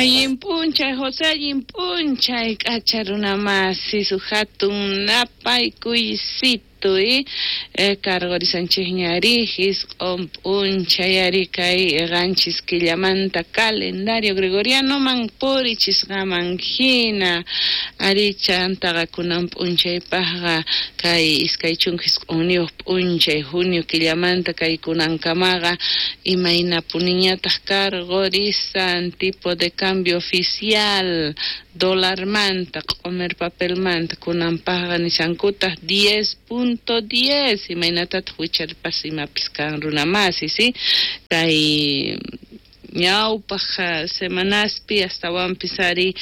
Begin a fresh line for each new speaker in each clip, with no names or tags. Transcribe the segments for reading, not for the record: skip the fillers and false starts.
Allin p'unchay, José, allin p'unchay, k'acha runa masi, huk hatun napaykuysito, cargorisanchikña ari, 9 p'unchay ari kay 7 killamanta calendario gregorianoman purichisqaman hina ari chantaqa kunan p'unchaypaqqa kay 29 p'unchay junio killamanta kay kunankamaqa imaynapuniñataq cargorisan tipo de cambio oficial dólarmanta q'omer papelmanta kunanpaqqa nishankutaq 10.10 imaynatataq wicharpas imapis kan runa masi, ¿sí? Kay ñawpaq semanaspi astawanpis ari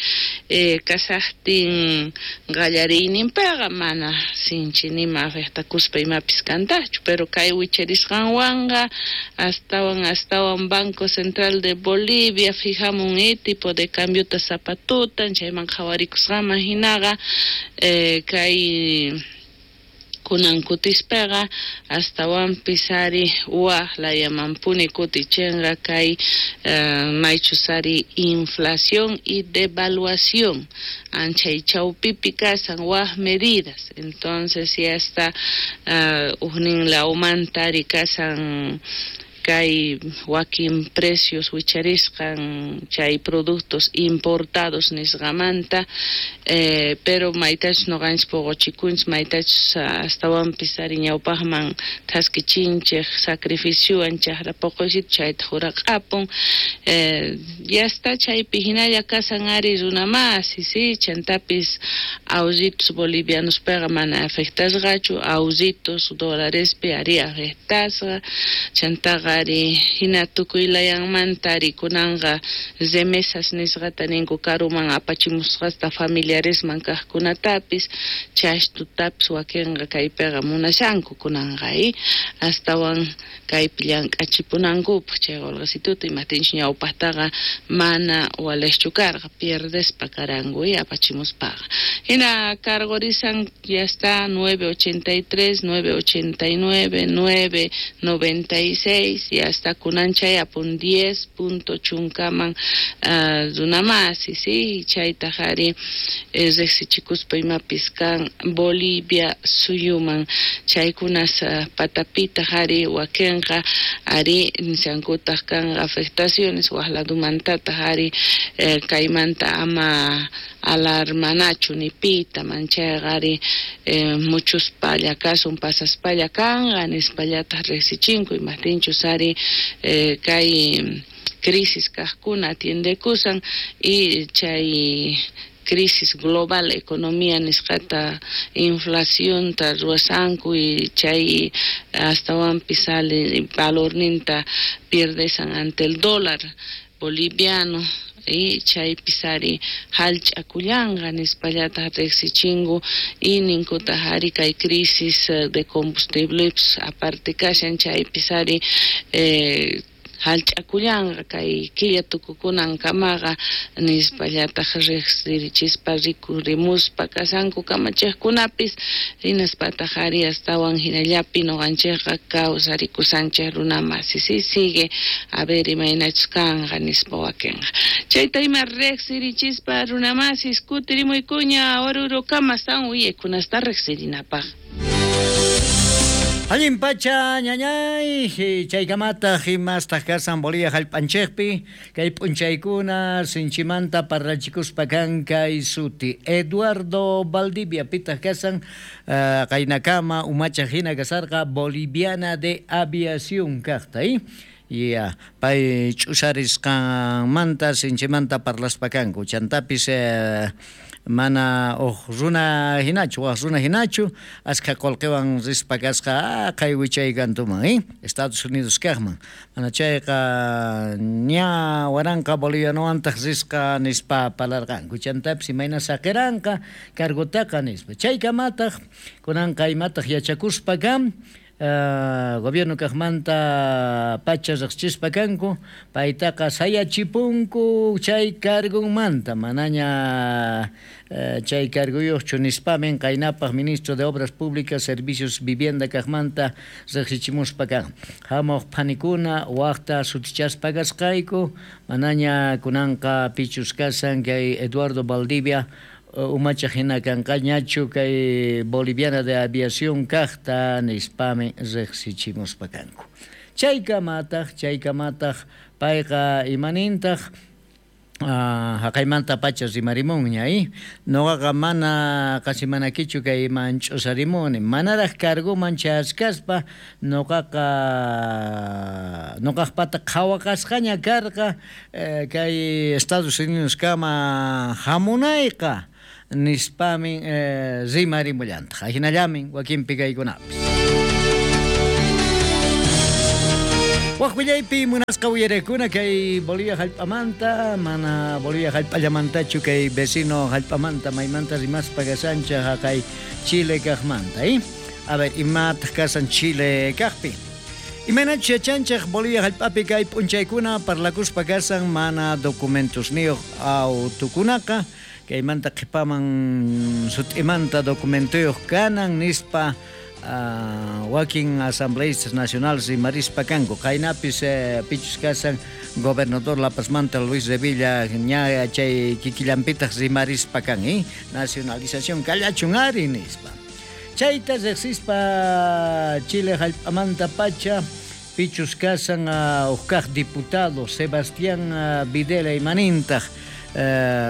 kashaqtin qallariyninpiqa mana sinchi nima afectakuspa imapis kantaqchu, pero kay wicharisqanwanqa astawan astawan Banco Central de Bolivia fijamun tipo de cambiota zapatutan chayman qhawarikusqaman hinaqa kay kunan kutispaqa astawanpis ari waj layamanpuni kutichinqa kay maychus ari inflación y devaluación anchay chawpipi kasan waj medidas. Entonces ya está ujnin lawmanta ari kasan kay wakin precios wicharisqan chay productos importados nisqamanta, pero maytachus noqanchis puquchikunchis maytachus astawanpis ari ñawpaqman thaskichinchik sacrificiowan chaqra puquysitu chayta juraq'apun, ya está chaypi hinalla kasan ari runa masi, sí, chantapis ahorritos bolivianospiqa mana afectasqachu, ahorritos dólarespi ari afectasqa, chantaqa ari hina tukuy layanmanta ari kunanqa remesas nisqata ninku karuman apachimusqasta familiaresman kaqkunatapis chashtutapis wakinqa kaypiqa munashanku kunanqa astawan kaypi llank'achipunankupaq chay qolqesituta imaptinchus ñawpaqtaqa mana waliqchu karqa pierdespa karanku apachimuspaqa. Hina cargorisan ya está 9.83, 9.89, 9.96, ya está kunan chay apun 10 punto chunkaman runamasi, sí, chaytaq ari riqsichikuspa imapis kan Bolivia suyuman chaykunas patapitaq ari wakinqa ari nishankutaq kan afectaciones waj ladumantataq ari kaymanta ama alarmanachu ni pita manchayqa ari muchuspalla kasun pasaspalla kanqa nispallataq riqsichinku imaptinchus ari kay crisis kaqkuna atiendekusan y chay crisis global economía nisqata inflacionta ruwasanku y chay astawanpis sale valorninta pierdesan ante el dólar boliviano y chaypis ari hallch'akullanqa nispallataq riqsichinku y ninkutaq ari kay crisis de combustibles aparte kashan chaypis ari hallch'akullanqa kay killa tukukunankamaqa nispallataq riqsirichispa rikurimuspa kasanku kamachiqkunapis hinaspataq ari astawan hinallapi nuqanchikqa kawsarikusanchik runa masi, sí, sigue a ver imaynachus kanqa nispa wakinqa chayta ima riqsirichispa runa masis kutirimuykuña Orurokama astawan uyaykunasta riqsirinapaq.
Allin pacha ñañay, chaykamataq imastaq kasan Bolivia hallp'anchikpi kay p'unchaykuna sinchimanta parlachikuspa kan kay suti Eduardo Valdivia pitaq kasan qaynakama umachaq hina kasarqa Boliviana de Aviación kaqta, Ya, pay ch'usarisqanmanta sinchimanta parlaspa kanku chantapis mana uj runa hinachu waj runa hinachu askha qullqiwan rispa kasqa qay wichay kantuman, Estados Unidos kaqman mana chayqa ña 1000 bolivianowantaj risqa nispa parlarqanku chantapis imayna saqiranqa cargotaqa nispa chaykamataq kunanqa imataq yachakuspa kan Gobierno kajmanta pacha riqsichispa kanku, paytaqa sayachipunku chay cargunmanta, manaña chay carguyuqchu nispamin qaynapaq ministro de Obras Públicas, Servicios, Vivienda kajmanta riqsichimuspa kan. Hamuq phanikuna waqta sutichaspa kasqayku, manaña kunanqa pichus kasan kay Eduardo Valdivia umachaq hina kanqañachu kay Boliviana de Aviación kajta nispami riqsichimuspa kanku. Chaykamataq payqa imanintaq haqaymanta pacha rimarimunña, noqaqa mana qasimanakichu kay manch'usarimuni, manaraq carguman chayachkaspa noqaqa noqaqpata qhawaqasqaña karqa kay Estados Unidos kama hamunayqa nispamin rimarimullantaq, ajinallamin wakinpi kaykunapis. Waj willaypi munasqa uyarekuna kay Bolivia hallp'amanta, mana Bolivia hallp'allamantachu kay vecino hallp'amanta maymanta rimaspa kashanchej haqay Chile kajmanta, A ver, imataq kasan Chile kajpi. Imaynachus yachanchej Bolivia hallp'api kay p'unchaykuna parlakuspa kasan mana documentosniyuq autukunaqa, kaymanta qhipaman sut'imanta documentoyuq kanan nispa wakin asambleístas nacionales rimarispa kanku. Qaynapis pichus kasan gobernador La Pazmanta Luis Revilla ña chay kikillanpitaq rimarispa kan, nacionalización kallachun ari nispa. Chayta riqsispa Chile hallp'amanta pacha pichus kasan uqkaq diputado Sebastián Videla imanintaq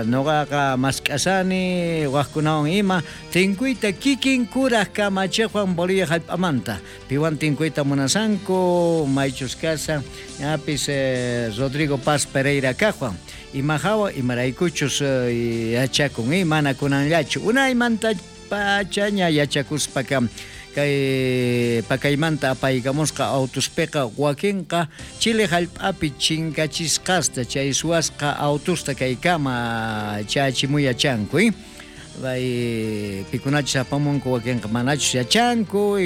noqaqa mask'asani waqkunawan ima tinkuyta kikin kuraj kamachiqwan Bolivia hallp'amanta piwan tinkuyta munasanku maychus kasan ñapis Rodrigo Paz Pereira kajwan imajawa imaraykuchus yachakun mana kunanllachu unaymanta pachaña yachakuspa kay pakaymanta apaykamusqa autospiqa wakinqa Chile hallp'api chinkachisqasta chay suwasqa autosta kaykama chachimuyachanku, Bay pikunachus apamunku wakinqa manachus yachanku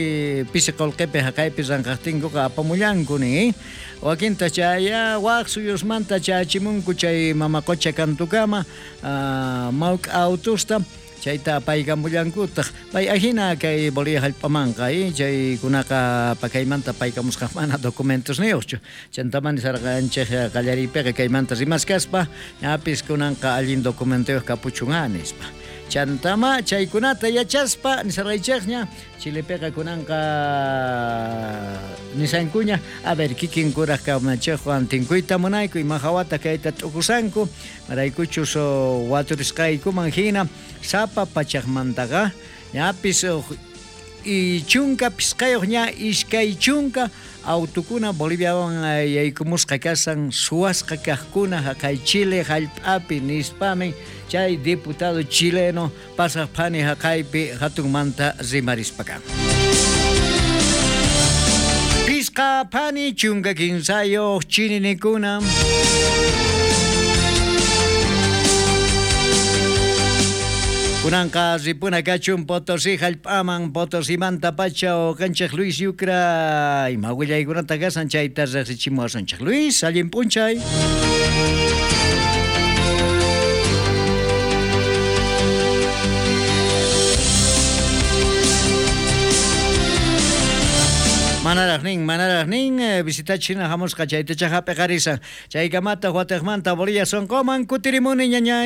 pisi qullqipi haqaypi ranqaqtinkuqa apamullanku nin, wakinta chaya waq suyusmanta chachimunku chay mama qucha kantukama mawk'a autosta chayta apaykamullankutaq pay ajina kay Bolivia hallp'amanqa chaykunaqa pakaymanta apaykamusqa mana documentosniyuqchu chantaman nisarqanchej qallariypiqa kaymanta rimaskaspa ñapis kunanqa allin documentoyuq kapuchun nispa. Chantama chaykunata yachaspa nisarqaychejña Chilepiqa kunanqa nisankuña a ver kikin kuraj kamachiqwan tinkuyta munayku ima hawata kayta t'ukusanku maraykuchus waturisqaykuman hina sapa pachaqmantaqa ñapis chunka pisqayuq ña iskay chunka autukuna Boliviawan yaykumusqa kasan suwasqa kaqkuna haqay Chile hallp'api nispamin chay diputado chileno pasaq phani haqaypi hatunmanta rimarispa kan. Pisqa phani 13 chininikuna. Kunanqa ripuna kachun Potosí hallp'aman Potosimanta pacha uqanchej Luis Yucra ima willaykunata kasan chayta riqsichimuwasunchej. Luis, allin p'unchay. Manaraq nin visitachina hamusqa chaytacha hap'iqarisan chaykamata wataqmanta Bolivia sonqoman kutirimuni ñañay.